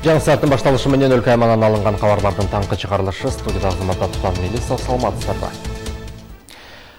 Жаңы сааттын башталышы менен өлкө аймагынан алынган кабарлардын таңкы чыгарылышы студияда Азамат Атуан Мелисов, саламатсыздарбы.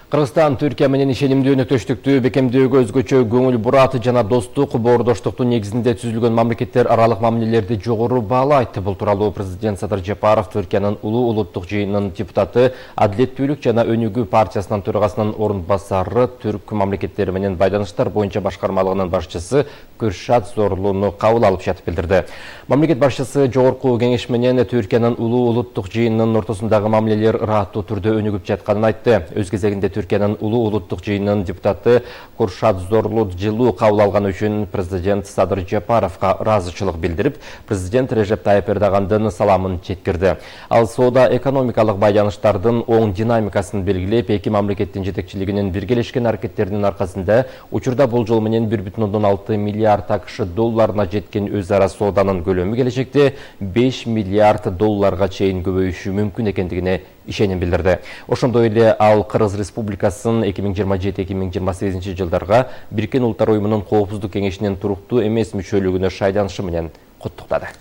Кыргызстан Түркия менен ишенимдүү өнөктөштүктү бекемдөөгө өзгөчө көңүл бурат жана достук, боордоштуктун негизинде түзүлгөн мамлекеттер аралык мамилелерди жогору баалайт. Бул тууралуу президент Садыр Жапаров Түркиянын улуу улуттук жыйынынын депутаты, Адилеттүүлүк жана Өнүгүү партиясынын төрагасынын орун басары, түрк мамлекеттери менен байланыштар боюнча башкармалыгынын башчысы Кürşat Zorlu'nu кабыл алып жатып билдирди. Мамлекет башчысы жогорку кеңеш менен Түркиянын улуу улуттук жыйынынын ортосундагы мамилелер ыраттуу түрдө өнүгүп жатканын айтты. Өз кезегинде Түркиянын улуу улуттук жыйынынын депутаты Кürşat Zorlu жылуу кабыл алганы үчүн президент Садыр Жапаровго ыраазычылык билдирип, президент Режеп Тайып Эрдогандын саламын жеткирди. Ал соода экономикалык байланыштардын оң динамикасын белгилеп, эки мамлекеттин жетекчилигинин биргелешкен аракеттеринин аркасында учурда болжол менен 1,6 миллиард АКШ долларына жеткен өз ара сооданын көлөмү келечекте 5 миллиард долларга чейин көбөйүшү мүмкүн экендигине ишеним билдирди. Ошондой эле ал Кыргыз Республикасынын 2027-2028 жылдарга Бириккен Улуттар уюмунун Коопсуздук кеңешинин туруктуу эмес мүчөлүгүнө шайланышы менен куттуктады.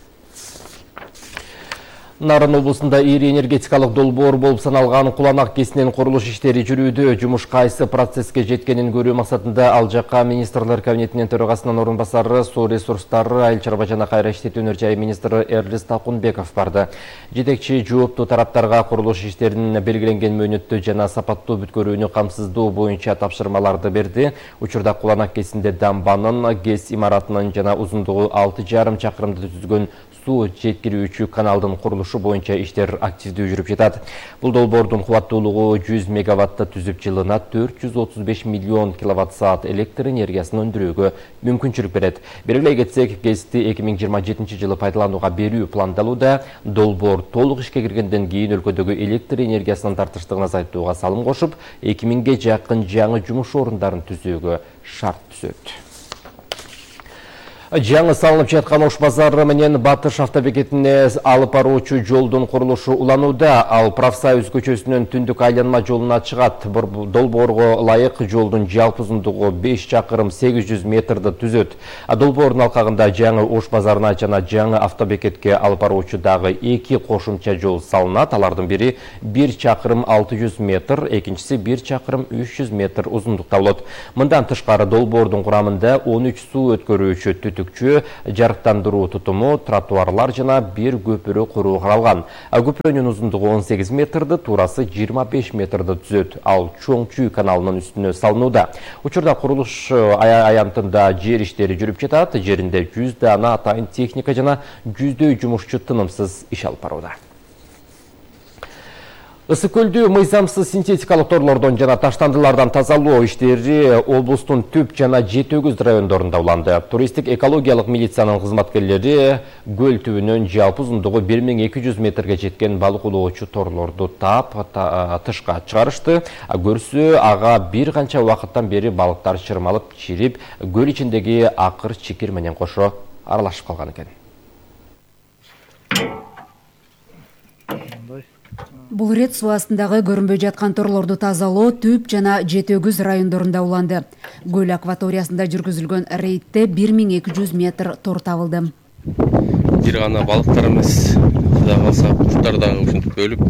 Нарын облусунда ири энергетикалык долбоор болуп саналган Куланак кесинин курулуш иштери жүрүүдө. Жумуш кайсы процесске жеткенин көрүү максатында ал жакка министрлер кабинетинин төрагасынын орун басары, суу ресурстары, айыл чарба жана кайра иштетүү өнөр жайы министри Эрлис Талкунбеков барды. Жетекчи жооптуу тараптарга курулуш иштеринин белгиленген мөөнөттө жана сапаттуу бүткөрүүнү камсыздоо боюнча тапшырмаларды берди. Учурда Куланак кесинде дамбанын, ГЭС имаратынын жана узундугу 6,5 чакырымды түзгөн суу жеткирүүчү каналдын курулушу боюнча иштер активдүү жүрүп жатат. Бул долбоордун кубаттуулугу 100 мегаватты түзүп, жылына 435 миллион киловатт-саат электр энергиясын өндүрүүгө мүмкүнчүлүк берет. Белгилей кетсек, ГЭСти 2027 жылы пайдаланууга берүү пландалууда. Долбоор толук ишке киргенден кийин өлкөдөгү электр энергиясынын тартыштыгын азайтууга салым кошуп, 2000ге жакын жаңы жумуш орундарын түзүүгө шарт түзөт. Жаңы салынып жаткан Ош базары менен Батыш автобекетине алып баруучу жолдун курулушу уланууда. Ал Профсоюз көчөсүнөн түндүк айланма жолуна чыгат. Долбоорго ылайык жолдун жалпы узундугу 5 чакырым 800 метрди түзөт. Долбоордун алкагында жаңы Ош базарына жана жаңы автобекетке алып баруучу дагы 2 кошумча жол салынат. Алардын бири 1 чакырым 600 метр, экинчиси 1 чакырым 300 метр узундукта болот. Мындан тышкары долбоордун курамында 13 суу өткөрүүчү жарыктандыруу тутуму, тротуарлар жана бир көпүрө куруу каралган. Көпүрөнүн узундугу 18 метрди, туурасы 25 метрди түзөт. Ал Чоң Чүй каналынын үстүнө салынууда. Учурда курулуш аянтында жер иштери жүрүп жатат. Жеринде 100 дана атайын техника жана 100дөй жумушчу тынымсыз иш алып барууда. Ысык көлдү мыйзамсыз синтетикалык торлордон жана таштандылардан тазалоо иштери облустун Түп жана Жетөгүз райондорунда уланды. Туристтик экологиялык милициянын кызматкерлери көл түбүнөн жалпы узундугу 1200 метрге жеткен балык улоочу торлорду таап тышка чыгарышты. Көрсө ага бир канча убакыттан бери балыктар чырмалып, чирип, көл ичиндеги акыр чикир менен кошо аралашып калган экен. Бул рет суу астындагы көрүнбөй жаткан торлорду тазалоо Түп жана Жетөгүз райондорунда уланды. Көл акваториясында жүргүзүлгөн рейдте 1200 метр тор табылды. Бир гана балыктар эмес, Кудай калса куштар дагы ушинтип өлүп,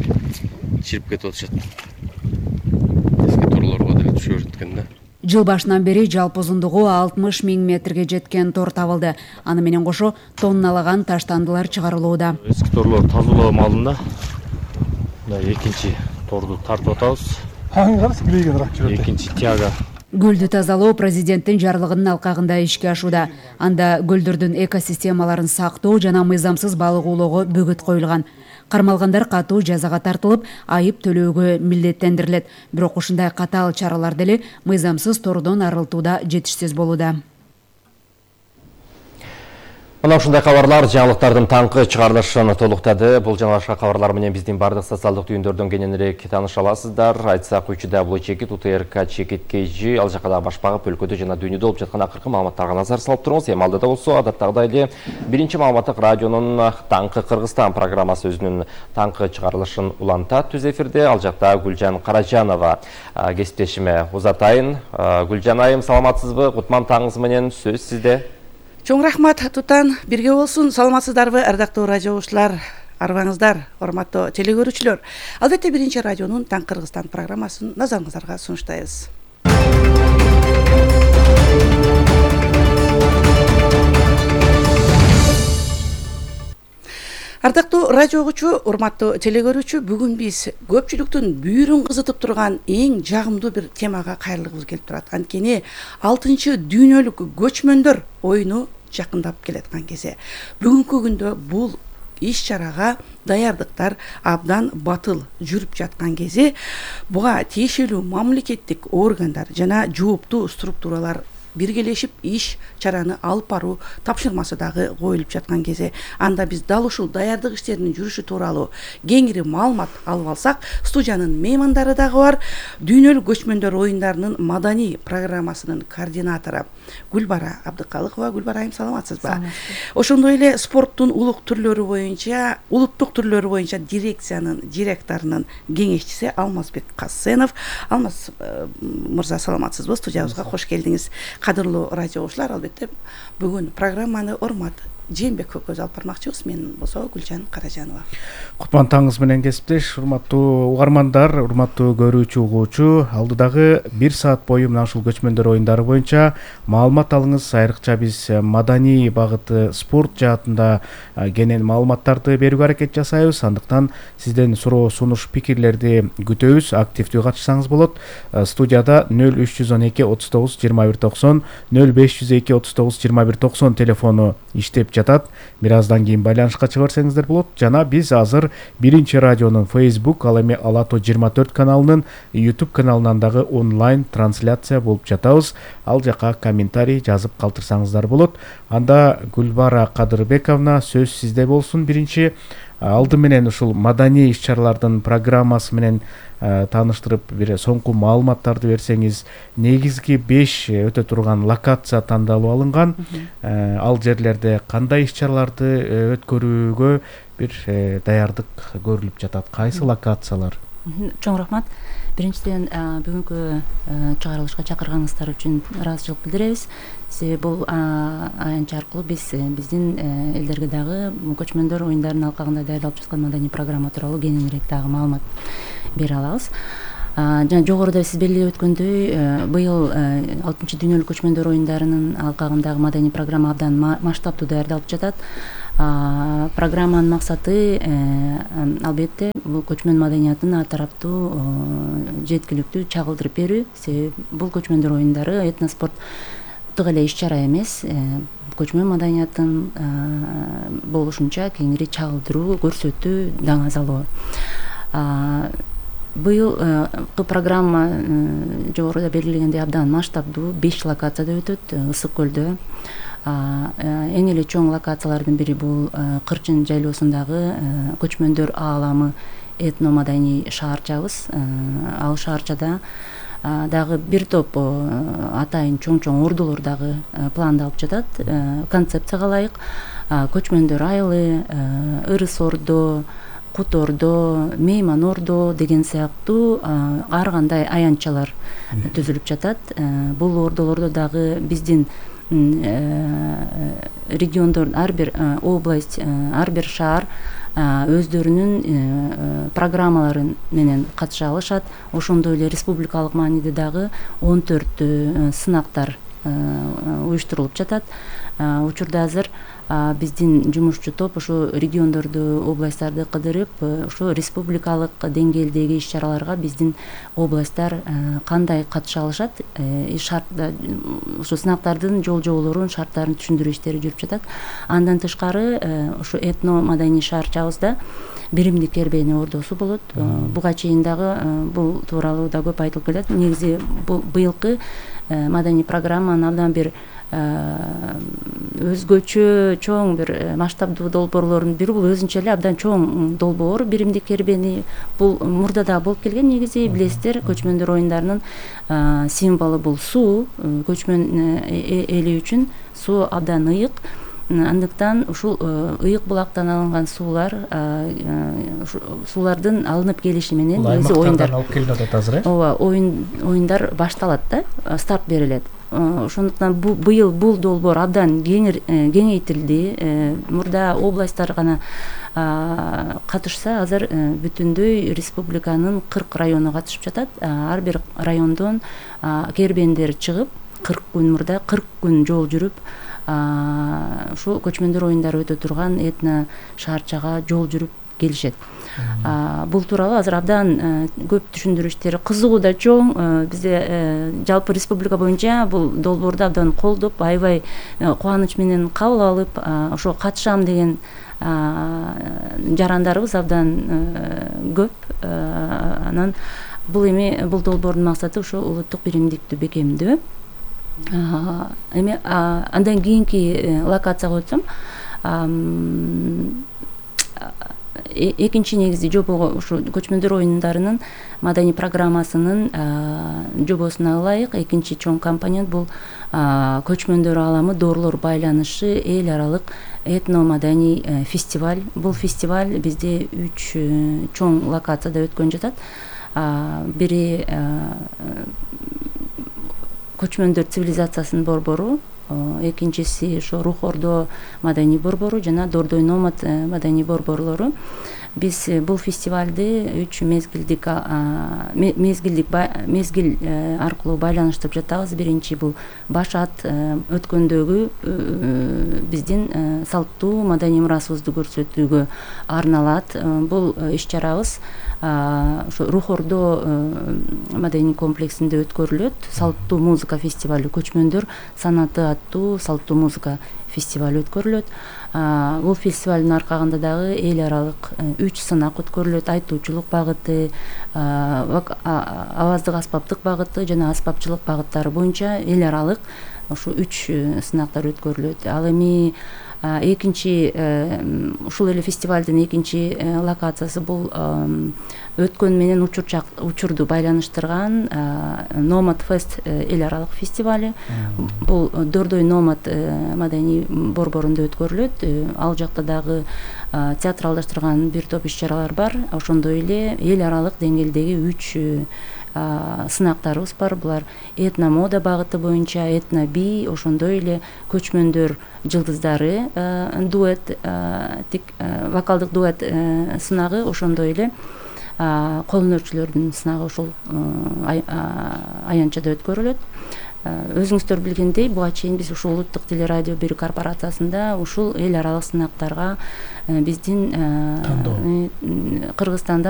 чирип кетип атышат. Эски торлорго деле түшө берет экен да. Жыл башынан бери жалпы узундугу 60 000 метрге жеткен тор табылды. Аны менен кошо тонналаган таштандылар чыгарылууда. Эски торлор тазалоо маалында экинчи торду тартып атабыз. Экинчи тяга. Көлдү тазалоо президенттин жарлыгынын алкагында ишке ашууда. Анда көлдөрдүн экосистемаларын сактоо жана мыйзамсыз балык улоого бөгөт коюлган. Кармалгандар катуу жазага тартылып, айып төлөөгө милдеттендирилет. Бирок ушундай катаал чаралар деле мыйзамсыз тордон арылтууда жетишсиз болууда. Мына ушундай кабарлар жаңылыктардын таңкы чыгарылышын толуктады. Бул жана башка кабарлар менен биздин бардык социалдык түйүндөрдөн кененирээк тааныша аласыздар. Айтсак, учуда бул чекит УТРК чекит KG ал жакка дагы башпагып өлкөдө жана дүйнөдө болуп жаткан акыркы маалыматтарга назар салып туруңуз. Эми алдыда болсо адаттагыдай эле биринчи маалыматтык радионун Таңкы Кыргызстан программасы өзүнүн таңкы чыгарылышын улантат түз эфирде. Ал жакта Гүлжан Каражанова кесиптешиме узатайын. Гүлжан айым, саламатсызбы? Кутман таңыңыз менен, сөз сизде. Чоң рахмат Тутан, бирге болсун. Саламатсыздарбы, ардактуу радио угуучулар, арыбаңыздар, урматтуу теле көрүүчүлөр. Албетте биринчи радионун Таң Кыргызстан программасын назарыңыздарга сунуштайбыз. Ардактуу радио угуучу, урматтуу теле көрүүчү, бүгүн биз көпчүлүктүн бүйүрүн кызытып турган эң жагымдуу бир темага кайрылгыбыз келип турат. Анткени 6-чы дүйнөлүк көчмөндөр оюну жакындап келаткан кезде бүгүнкү күндө бул иш-чарага даярдыктар абдан батыл жүрүп жаткан кезде буга тиешелүү мамлекеттик органдар жана жооптуу структуралар биргелешип иш-чараны алып баруу тапшырмасы дагы коюлуп жаткан кезде анда биз дал ушул даярдык иштеринин жүрүшү тууралуу кеңири маалымат алып алсак, студиянын меймандары дагы бар. Дүйнөлүк көчмөндөр оюндарынын маданий программасынын координатору Гүлбара Абдыкалыкова. Гүлбара айым, саламатсызбы? Ошондой эле спорттун улуттук түрлөрү боюнча дирекциянын директорунун кеңешчиси Алмазбек Касенов. Алмаз мырза, саламатсызбы? Студиябызга кош келдиңиз. Кадырлуу радио угуучулар, албетте бүгүн программаны Урмат Жээнбековго көз алып бармакчыбыз. Мен болсо Гүлжан Каражанова. Кутман таңыңыз менен кесиптеш, урматтуу угармандар, урматтуу көрүүчү угуучу. Алдыдагы 1 саат бою мына ушул көчмөндөр оюндары боюнча маалымат алыңыз. Айрыкча биз маданий багыты, спорт жаатында кенен маалыматтарды берүүгө аракет жасайбыз. Андыктан сизден суроо, сунуш, пикирлерди күтөбүз. Активдүү катышсаңыз болот. Студияда 0312 39 21 90, 0502 39 21 90 телефону иштеп жатат. Бир аздан кийин байланышка чыга берсеңиздер болот. Жана биз азыр биринчи радионун Facebook, ал эми Алато 24 каналынын YouTube каналынан дагы онлайн трансляция болуп жатабыз. Ал жака комментарий жазып калтырсаңыздар болот. Анда Гүлбара Кадырбековна, сөз сизде болсун. Биринчи алды менен ушул маданий иш-чаралардын программасы менен тааныштырып, бир соңку маалыматтарды берсеңиз. Негизги 5 өтө турган локация тандалып алынган. Ал жерлерде кандай иш-чараларды өткөрүүгө бир даярдык көрүлүп жатат? Кайсы локациялар? Чоң рахмат. Биринчиден бүгүнкү чыгарылышка чакырганыңыздар үчүн ыраазычылык билдиребиз. Себеби бул аянч аркылуу биздин элдерге дагы көчмөндөр оюндарынын алкагында даярдалып жаткан маданий программа тууралуу кененирээк дагы маалымат бере алабыз. Жана жогоруда сиз белгилеп өткөндөй, быйыл 6-чы дүйнөлүк көчмөндөр оюндарынын алкагындагы маданий программа абдан масштабтуу даярдалып жатат. Программанын максаты албетте бул көчмөн маданиятын ар тараптуу жеткиликтүү чагылдырып берүү. Себеби бул көчмөндөр оюндары этноспорттук эле иш-чара эмес, көчмөн маданиятын болушунча кеңири чагылдыруу, көрсөтүү даңазалоо. Быйылкы программа жогоруда белгилегендей абдан масштабдуу, 5 локацияда өтөт. Ысык көлдө эң эле чоң локациялардын бири бул Кырчын жайлоосундагы көчмөндөр ааламы этно-маданий шаарчабыз. Ал шаарчада дагы бир топ атайын чоң ордулор дагы пландалып жатат. Концепцияга ылайык көчмөндөр айылы, Ырыс ордо, Кут ордо, Мейман ордо деген сыяктуу ар кандай аянтчалар түзүлүп жатат. Бул ордолордо дагы биздин региондор, ар бир область, ар бир шаар өздөрүнүн программалары менен катыша алышат. Ошондой эле республикалык мааниде дагы 14 сынактар уюштурулуп жатат. Учурда азыр биздин жумушчу топ ошо региондорду, областтарды кыдырып, ошо республикалык деңгээлдеги иш-чараларга биздин областтар кандай катыша алышат, ошо сынактардын жол-жоболорун, шарттарын түшүндүрүү иштери жүрүп жатат. Андан тышкары ошо этно-маданий шаарчабызда биримдик кербени ордосу болот. Буга чейин дагы бул тууралуу да көп айтылып келет. Негизи быйылкы маданий программанын абдан бир өзгөчө чоң бир масштабдуу долбоорлордун бири бул өзүнчө эле абдан чоң долбоор. Биримдик кербени бул мурда да болуп келген. Негизи билесиздер, көчмөндөр оюндарынын символу бул суу. Көчмөн эли үчүн суу абдан ыйык. Андыктан ушул ыйык булактан алынган суулардын алынып келиши менен негизи оюндар алып келип атат азыр. Ооба, оюндар башталат да, старт берилет. ошондуктан быйыл бул долбоор абдан кеңейтилди. Мурда областтар гана катышса, азыр бүтүндөй республиканын 40 району катышып жатат. Ар бир райондон кербендер чыгып, 40 күн мурда 40 күн жол жүрүп, ушу көчмөндөр оюндары өтө турган этно шаарчага жол жүрүп келишет. Бул тууралуу азыр абдан көп түшүндүрүү иштери, кызыгуу да чоң. Бизде жалпы республика боюнча бул долбоорду абдан колдоп, аябай кубаныч менен кабыл алып, ошо катышам деген жарандарыбыз абдан көп. Анан бул долбоордун максаты ошо улуттук биримдикти бекемдөө. Эми андан кийинки локацияга өтсөм, экинчи негизи жобого ушу көчмөндөр оюндарынын маданий программасынын жобосуна ылайык экинчи чоң компонент бул көчмөндөр ааламы доорлор байланышы эл аралык этно маданий фестиваль. Бул фестиваль бизде 3 чоң локацияда өткөн жатат. Бири көчмөндөр цивилизациясынын борбору, экинчиси ошо Рух Ордо маданий борбору жана Дордой Номад маданий борборлору. Биз бул фестивалды 3 мезгил аркылуу байланыштырып жатабыз. Биринчи бул Башат өткөндөгү биздин салттуу маданий мурасыбызды көрсөтүүгө арналат. Бул иш-чарабыз ошо Рух Ордо маданий комплексинде өткөрүлөт. Салттуу музыка фестивалю, көчмөндөр санаты аттуу салттуу музыка фестиваль өткөрүлөт. Бул фестивалдын аркагында дагы эл аралык 3 сынак өткөрүлөт. Айтуучулук багыты, аваздык аспаптык багыты жана аспапчылык багыттары боюнча эл аралык ушу 3 сынактар өткөрүлөт. Ал эми экинчи ушул эле фестивалдын экинчи локациясы бул өткөн менен учурду байланыштырган Номад Фест эл аралык фестиваль. Бул Дордой Номад маданий борборунда өткөрүлөт. Ал жакта дагы театралдаштырган бир топ иш-чаралар бар. Ошондой эле эл аралык деңгээлдеги 3 сынактарыбыз бар. Булар этно мода багыты боюнча этно би, ошондой эле көчмөндөр жылдыздары дуэт, вокалдык дуэт сынагы, ошондой эле кол өнөрчүлөрдүн сынагы ушул аянтчада өткөрүлөт. Өзүңүздөр билгендей, буга чейин биз ушул улуттук телерадио 1 корпорациясында ушул эл аралык сынактарга биздин Кыргызстанда